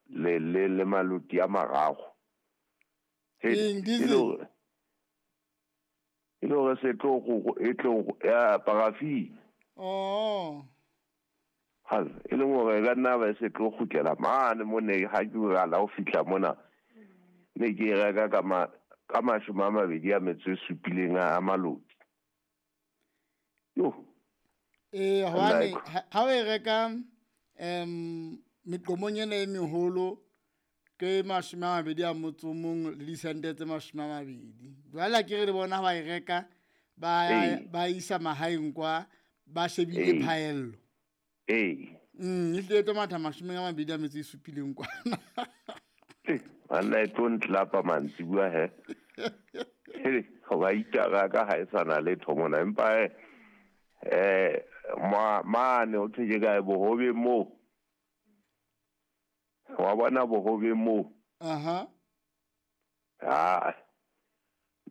Le le le maloti a mararo. Eng, diesel? E le hore se tlo go e tlo ya parafi. Oh. Hal, e leng hore e ka nna ba se tlo kgutlela mane mo ne ha ke qala ho fihla mona. Ne ke e reka ka ma ka 27 a maloti. Yo. Ee, hobane ha o e reka meqomong ena e meholo ke 21 le disente tse 20. Jwale ke re le bona ha ba e reka ba isa mahaeng kwa ba shebile phaello. Ee. E hlile e tlo matha 27 kwana. Banna e tlo ntlapa mantsibuya he. Hoba itara ka ha e sa na letho mona empa mane o thwe ke kae bohobeng moo. Wa bona bohobeng moo. Aha. Ha.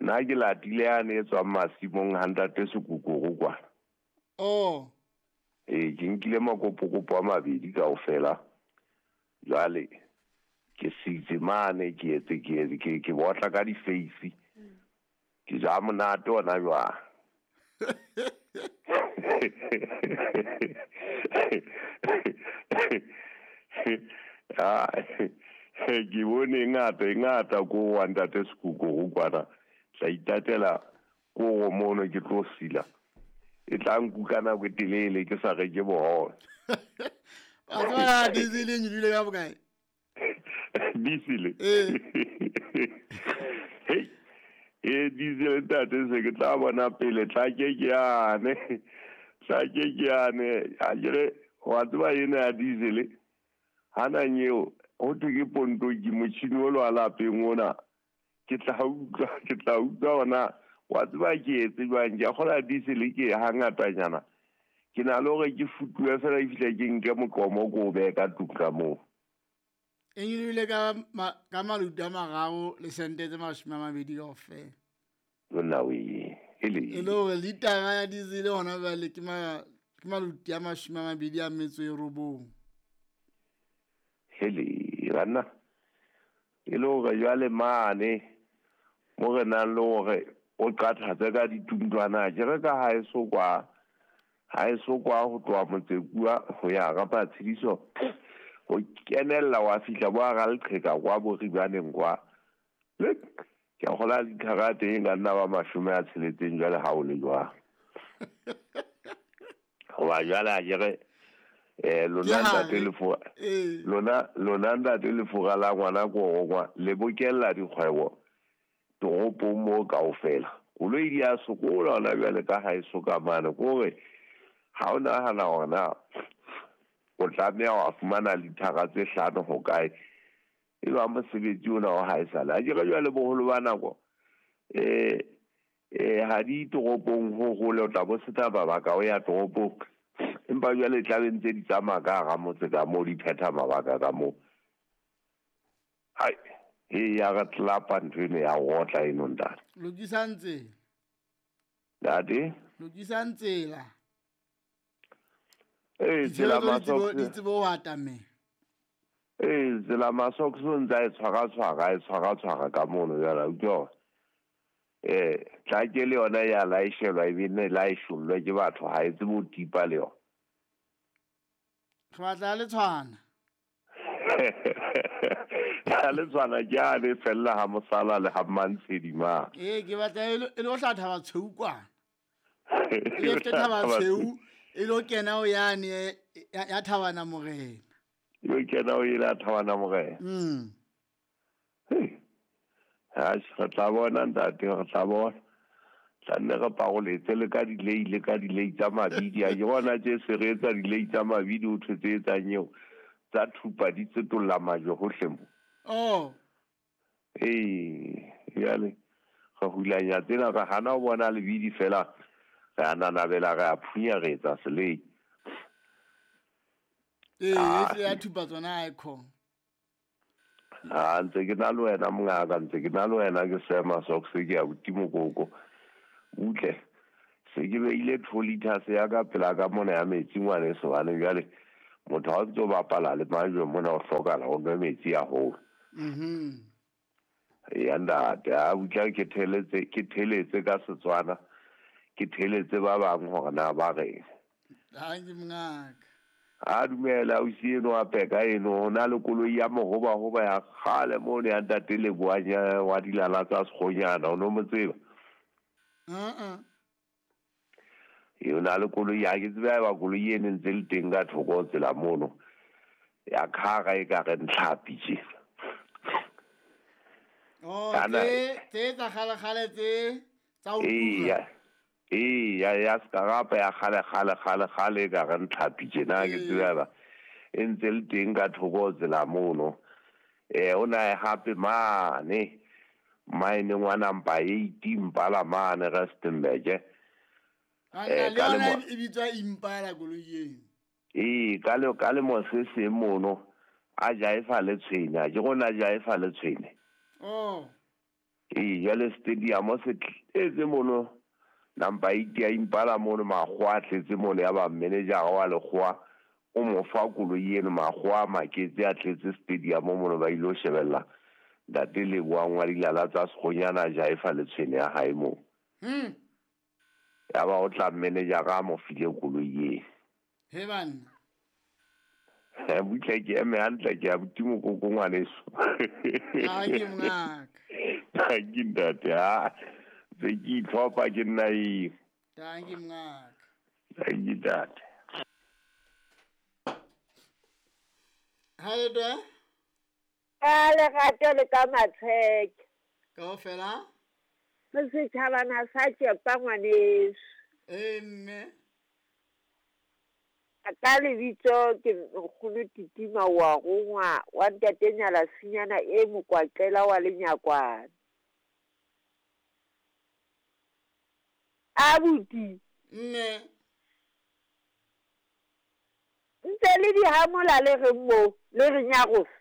Nna ke latile yane e tswang masimong ha ntate Sekokoro kwana. Oh. Ee, ke nkile makopokopo a mabedi kaofela. Jwale ke sitse mane ke etse ke ke ke botla ka di-face. Ke ja monate ona jwang. Ke bone e ngata e ngata ko wa ntate Sekokoro kwana. Tla itatela koro mono ke tlo sila. E tla nkuka nako e telele ke sa reke bohobe. Wa tseba diesel e nyolohile ka bokae? Diesel? Ee. Hei. E diesel ntate se ke tla bona pele tla ke ke yane. Tla ke ke yane. A kere wa tseba ena ya diesel. Hana nyeo ho thwe ke pontoki motjhini o lo lapeng ona. Ke tla utlwa ona wa tseba ke etse jwang ke a kgola diesel ke hangatanyana. Ke na le hore ke futuwe fela e fihle ke nke moqomo ko o behe ka tlung ka moo. E nyolohile ka maluti a 3 le sente tse 20 kaofela. Lona we, ele. E le hore litara ya diesel hona jwale ke maluti a 29. Hele, banna. E le hore jwale mane mo re nang le hore o qathatse ka dituntwana ke re ka ha e so kwa ha e so kwa ho tloha Motsekua ho ya ka Matshediso ho kenella wa fihla bo hara leqheka kwa bo Ribaneng kwa. Le ke a kgola lithara teng ka nna ba 60 jwale ha o le jwang. Hoba jwale a ke re lona ntate lefura lona ntate lefura la ngwana ko kwa le bokella dikgwebo toropong moo kaofela. Koloi di a sokola hona jwale ka ha e soka mane kore ha o nahana hore na o tlameha wa fumana lithara tse 5 ho kae e ba mosebetsi ona wa haesale. A ke re jwale boholo ba nako ha di toropong ho hole o tla bo sena mabaka o ya toropong empa jwale tla be ntse di tsamaya ka hara motse ka moo di phetha mabaka ka moo. Hai, e ya re tlapa ntho eno ya otla eno ntate. Lokisang tsela. Ntate? Lokisang tsela. Ee, tsela masoks. Di tsebo ho atamela. Ee, tsela masoks o ntse a e tshwara ka mono jwale, utlwa. Tla ke le yona ya laeshelwa e be nne laeshollwe ke batho ha e tsebe ho tipa le yona. Re batla le tshwana. Ya le tshwana ke a le fella ha mosala le ha Mmantshedi ma. Ee, ke batla e lo hla Thaba Tshweu kwana. E lo Thaba Tshweu e lo kena ho yane ya Thabana Morena. E lo kena ho ela Thabana Morena. Ha re tla bona ntate, re tla bona. Tla nne re paroletse le ka dilei le ka dilei tsa mabidi. A ke bona tje se re etsa dilei tsa mabidi ho thwe tse etsang eo tsa thupa di tsetolla majwe hohle mo. Oh. Ee, jwale re hulanya tsena re hana ho bona lebidi fela re a nanabela re a phunya re etsa selei. Ee, e ya thupa tsona ha e khona. Ha ntse ke na le wena mongaka, ntse ke na le wena ke sema socks ke ya buti mokoko. Utle se ke beile 2 liters ya ka pela ka mona ya metsi ngwaneso hobane jwale Motho ha o ntso bapala le majwe mona o hlokala o nwe metsi haholo. Ya ntate, a butla ke theletse ka Setswana, ke theletse ba bang hore na ba reng. Dankie mongaka. A dumela ausi eno a peka eno ho na le koloi ya mohobahoba ya kgale mono ya ntate Leboang wa dilala tsa Sekgonyana, o no mo tseba? E o na le koloi ya ke tsebe haeba koloi eno e ntse le teng ka thoko ho tsela mono ya khara e ka re ntlhapi tje. Oh, tse tsa kgale-kgale tse tsa ho tura. Ee, ya sekarapa ya kgale kgale kgale kgale e ka re ntlhapi tjena ke tsebe haeba e ntse le teng ka thoko ho tsela mono. O na e hape mane mineng wa number 8 Impala mane Rustenburg. Le yona e bitswa Impala koloi eno. Ee, ka lemo se seng mono a jaefa le tshwene, a ke rona jaefa le tshwene. Oh. Ee, jwale stadium se tletse mono number 8 ya Impala mono makgowa a tletse mono ya ba manager wa lekgowa o mo fa koloi eno makgowa a maketse a tletse stadium mono ba ile ho shebella ntate Leboang wa dilala tsa Sekgonyana jaefa le tshwene ya hae moo. Ya ba o tla manager a mo file koloi eno. He banna. Butle ke eme hantle ke abuti mokoko ngwaneso. Dankie mongaka. Dankie ntate, ha se ke itlhopha ke nna eng. Dankie mongaka. Dankie ntate. Ha le twe? Ka lerato le ka matsheke. Kaofela? Re setjhabana sa tšepa ngwaneso. Ee mme. Ka lebitso ke nkgono Titima wa rongwa wa ntate Nyala Sinyana e mokwaqela wa lenyakwana. Abuti. Mme. Ntse le di hamola le reng mo le re nyarosa.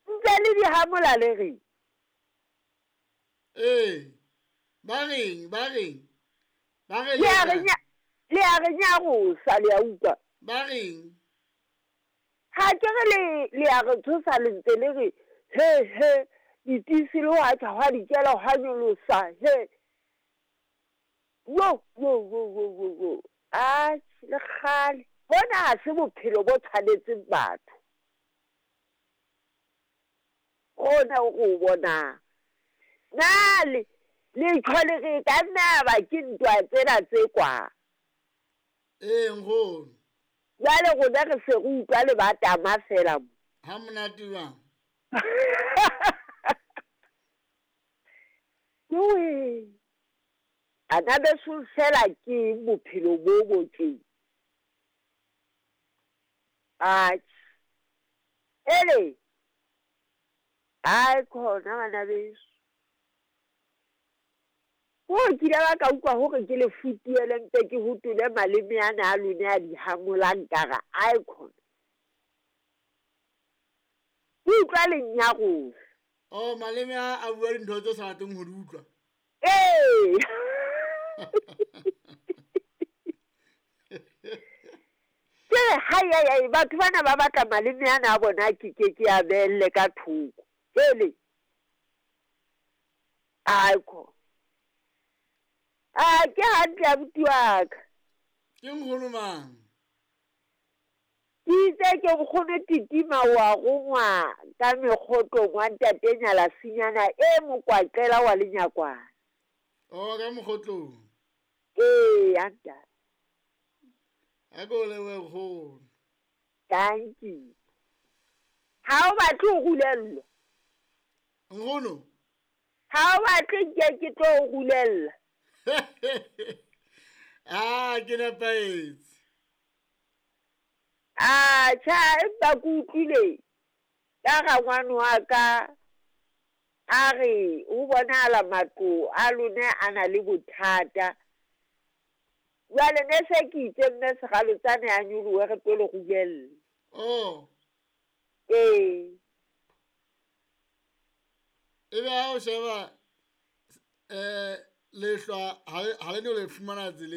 Ntse le di hamola le reng. Ee, ba reng ba re le a re nyarosa le a utlwa. Ba reng? Ha ke re le a re tshosa le ntse le re he he ditisi le hwa tjha hwa dikela hwa nyolosa he. Wo wo wo wo wo wo. A le kgale. Bona ha se bophelo bo tshwanetseng batho. Ona o go bona. Na le tjhole re ka nna ba ke ntwa tsena tse kwa. Ee nkgono. Jwale rona re se re utlwa le ba tama fela mo. Ha monate jwang? Jowe. Ana beso fela ke bophelo bo bo tje. Atjhe. Ele. Ai khona bana beso. Ho kile ba ka utlwa hore ke le futuele mpe ke hotole maleme ana a lone a di hamolang ka re ai khona. Ke utlwa le nyarosa. Oh, maleme a bua dintho tse sa rateng ho di utlwa. Ee. Ke hai hai hai batho bana ba batla maleme ana a bona ke ke a beelle ka thoko. Ele. Ai khona. A ke hantle abuti wa ka. Ke nkgono mang? Ke itse ke nkgono Titima wa rongwa ka mekgotlong wa ntate Nyala Sinyana e mokwaqela wa lenyakwana. Oh, ka mokgotlong. Ee, ntate. A ko lebohe nkgono. Thank you. Ha o batle ho rulellwa? Nkgono? Ha o batle ke tlo o rulella. Ah, ke nepahetse. Ah, tjha, empa ke utlwile ka rangwane wa ka a re ho bonahala matlo a lona a na le bothata. Jwale ne se ke itse mme sekgalotsane a nyolohe re tlo le rulella. Oh. Ee. Ebe ha o sheba Lehlwa ha le no le fumana tseleng.